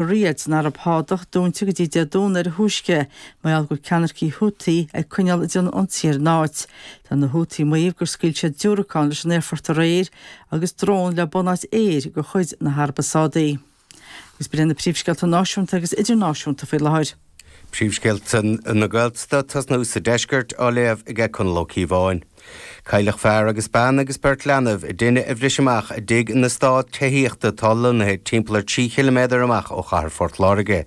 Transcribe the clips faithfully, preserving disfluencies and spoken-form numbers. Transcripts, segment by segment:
Riyadh san Araib Shádach dúnta go dtí Dé Domhnaigh ar a thúisce, mar gheall go bhfuil ceannaircigh Houthi ag coinneáil ag déanamh ionsaí ar an áit. Tá na Houthi ag maíomh gur scaoil siad diúracán leis an aerfort aréir agus drón le bunáit aeir de chuid na hAraibe Sádaí. Agus b'in na príomhscéalta náisiúnta agus idirnáisiúnta faoi láthair. Príomhscéalta na Gaeltachta tosnú sa deisceart á léamh ag Conall Ó Cíobháin. Cailleadh fear agus bean agus beirt leanbh i dtine a bhris amach i dtigh in eastát tithíochta atá lonnaithe timpeall ar trí chiliméadar amach ó chathair Phort Láirge.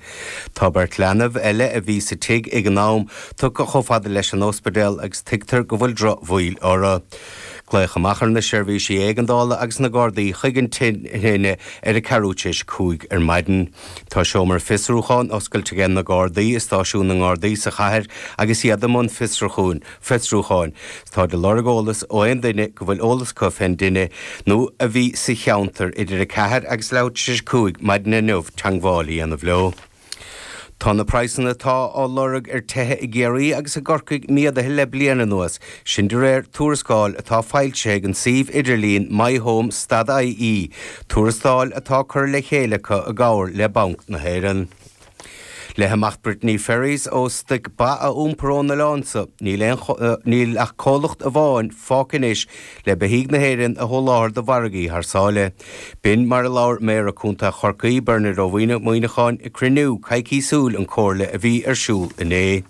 Tá beirt leanbh eile a bhí sa tigh ag an am tugtha chomh fada leis an ospidéal agus tuigtear go bhfuil drochbhaol orthu. Glaodh amach ar na seirbhísí éigeandála agus na Gardaí chuig an tine ar a ceathrú tar éis a cúig ar maidin. Tá seomra fiosrúcháin oscailte ag na Gardaí i stáisiún na nGardaí sa chathair agus iad i mbun fiosrúcháin. Fiosrúcháin. Tá de lorg eolas ó aon duine go bhfuil eolas acu fén dtine nó a bhí sa cheantar idir a ceathair agus leathuair tar éis a cúig maidin inniu teagmháil a dhéanamh leo. Tá na praghsanna atá á lorg ar tithe i gCiarraí agus i gCorcaigh méadaithe le bliain anuas, sin de réir tuarascáil atá foilsithe ag an suíomh idirlín MyHome stad IE, tuarascáil atá curtha le chéile acu i gcomhar le Banc na hÉireann. Le himeacht Brittany Ferries ó stoic ba a iompar ón oileán seo, níl aon níl ach comhlacht amháin fágtha anois le beithígh na hÉireann a sholáthar do mhargaí thar sáile. B'in mar a labhair Méara Contae Chorcaí Bernard Ó Muíneacháin ag cruinniú coicísiúil an Chomhairle a bhí ar siúl inné.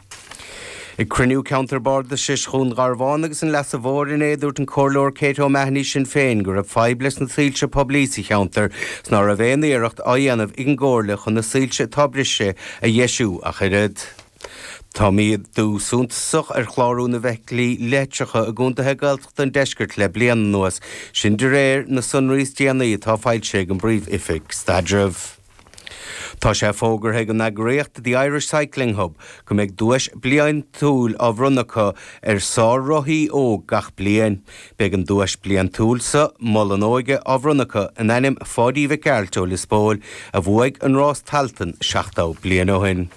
Ag cruinniú ceantar bardais Dhún Garbhán agus an Leasa Mhóir inné dúirt an Comhairleoir Kate O'Mahony Sinn Féin go raibh fadhb leis na soilse poiblí sa cheantar 's ná raibh aon iarracht á dhéanamh ag an gcomhairle chun na soilse atá briste a dheisiú ach oiread. Tá méadú suntasach ar chlárú na bhfeithiclí leictreacha i gcontaetha Gaeltachta an deiscirt le bliain anuas, sin de réir na sonraí is déanaí atá foilsithe ag an bPríomh-Oifig Staidrimh. Tá sé fógartha ag an eagraíocht The Irish Cycling Hub go mbeidh duais bliantúil á bhronnadh acu ar sár-rothaí óg gach bliain. Beidh an duais bliantúil sa Mol an Óige á bhronnadh acu in ainm Pháidí Mhic Gearailt ó Lios Póil a bhuaigh an rás Tailteann seachtó bliain ó shin.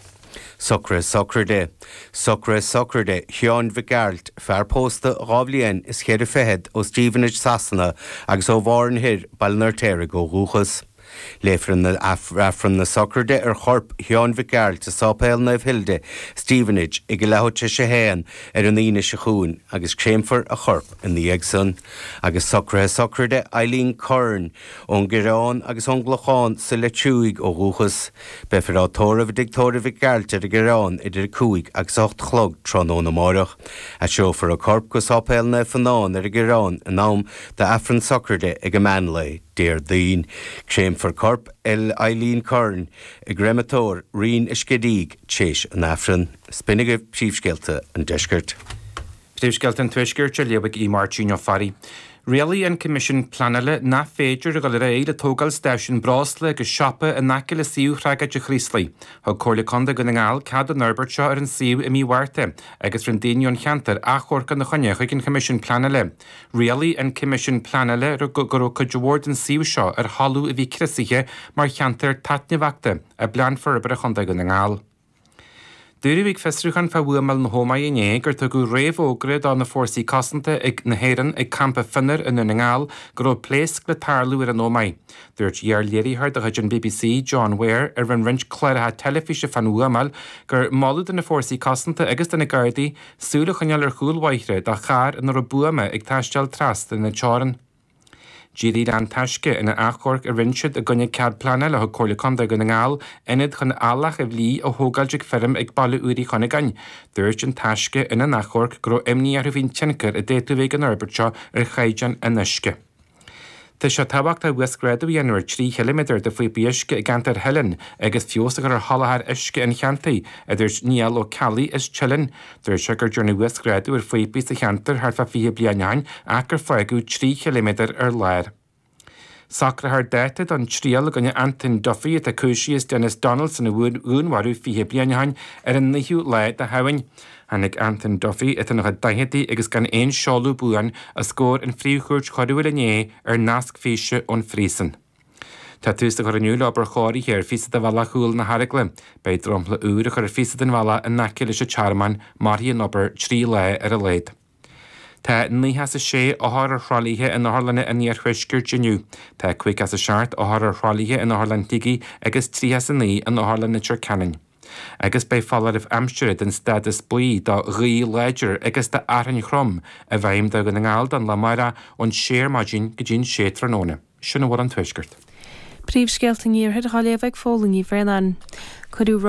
Socruithe sochraide. Socruithe sochraide Sheáin Mhic Gearailt, fear pósta dhá bhliain is ceithre fichead ó Stevenage Sasana agus ó Bhárn Thoir, Baile an Fheirtéaraigh ó dhúchas. Léifear an Aifreann na sochraide ar chorp Sheáin Mhic Gearailt i Sáipéal Naomh Hilda, Stevenage, ag a leathuair tar éis a haon ar an Aoine seo chugainn agus créamfar a chorp ina dhiaidh san. Agus socruithe sochraide Eileen Curran ón gCoireán agus ón gClochán sa Leitriúigh ó dhúchas. Beifear á tórramh i dtigh tórraimh Mhic Gearailt ar an gCoireán idir a cúig agus a hocht a chlog tráthnóna amárach. Aistreofar a corp go Sáipéal Naomh Fionán ar an gCoireán in am d'Aifreann sochraide ag an meán lae Déardaoin. Créamfar corp Eileen Curran i gcreimeatóir Rinn an Scidígh tar éis an Aifrinn. B'in agaibh príomhscéalta an deiscirt. Príomhscéalta an Tuaiscirt á léamh ag Máirtín Ó Fearraigh. Rialaigh an Coimisiún Pleanála nach féidir a dhul ar aghaidh le tógáil stáisiún breosla agus siopa in aice le suíomh thragóid an Chraoslaigh. Thug Comhairle Contae Dhún na nGall cead don fhorbairt seo ar an suíomh i mí Mhárta agus rinne daoine ón cheantar achomharc ina choinne chuig an Choimisiún Pleanála. Rialaigh an Coimisiún Pleanála go raibh cuid mhór den suíomh seo ar thalamh a bhí criosaithe mar cheantar taitneamhachta i bPlean Forbartha Chontae Dhún na nGall. Dúradh ag fiosrúchán fá bhuamáil na hÓmaí inné gur tugadh réamhfhógra do na fórsaí cosanta ag na hÉireann ag campa Fionnar i nDún na nGall go raibh pléasc le tarlú ar an Ómaigh. Dúirt iar-léiritheoir de chuid an BBC, John Ware, a rinne roinnt cláracha teilifíse fán bhuamáil, gur moladh do na fórsaí cosanta agus do na Gardaí súil a choinneáil ar chúl bóithre do charr ina raibh buama ag taisteal trasna na teorann. D'éirigh le An Taisce ina achomharc a rinne siad i gcoinne cead pleanála a thug Comhairle Contae Dhún na nGall ionad chun eallach a bhlí a thógáilt ag feirm ag Baile Úr Uí Chuinneagáin. Dúirt An Taisce ina n-achomharc go raibh imní orthu faoin tionchar a d'fhéadfadh a bheith ag an fhorbairt seo ar chaighdeán an uisce. Tá sé tábhachtach uasghrádú a dhéanamh ar trí chiliméadar de phíopaí uisce i gceantar Theileann agus feabhas a chur ar sholáthar uisce an cheantair, a dúirt Niall Ó Ceallaigh as Teileann. Dúirt sé gur dearnadh uasghrádú ar phíopaí sa cheantar thart fá fiche bliain ó shin ach gur fágadh trí chiliméadar ar lár. Socrófar dáta don triail i gcoinne Anton Duffy atá cúisithe as Denis Donaldson a dhúnmharú fiche bliain ó shin ar an naoú lá de Shamhain. Tháinig Anton Duffy atá ina chuid daicheadaí agus gan aon seoladh buan os comhair an Phríomhchúirt Choiriúil inné ar nasc físe ón phríosún. Tá tús á chur inniu le obair chóirithe ar phíosa de bhealach chúl na hArgla. Beidh dromchla úr á chur ar phíosa den bhealach in aice leis an tearmann, mairfidh an obair trí lá ar a laghad. Tá nócha is a sé othar ar thralaithe in otharlanna an iarthuaiscirt inniu. Tá caoga is a seacht othar ar thralaithe in Otharlann Shligigh agus tríocha is a naoi in Otharlann Leitir Ceanainn. Agus beidh foláireamh aimsire den stádas buí do ghaoth láidir agus do fhearthainn throm i bhfeidhm do Dhún na nGall don lá amárach ón sé ar maidin go dtí'n sé tráthnóna. Sin a bhfuil ón Tuaisceart. Príomhscéalta an Iarthair á léamh ag Fódhla Ní Bhraonáin. Cuireadh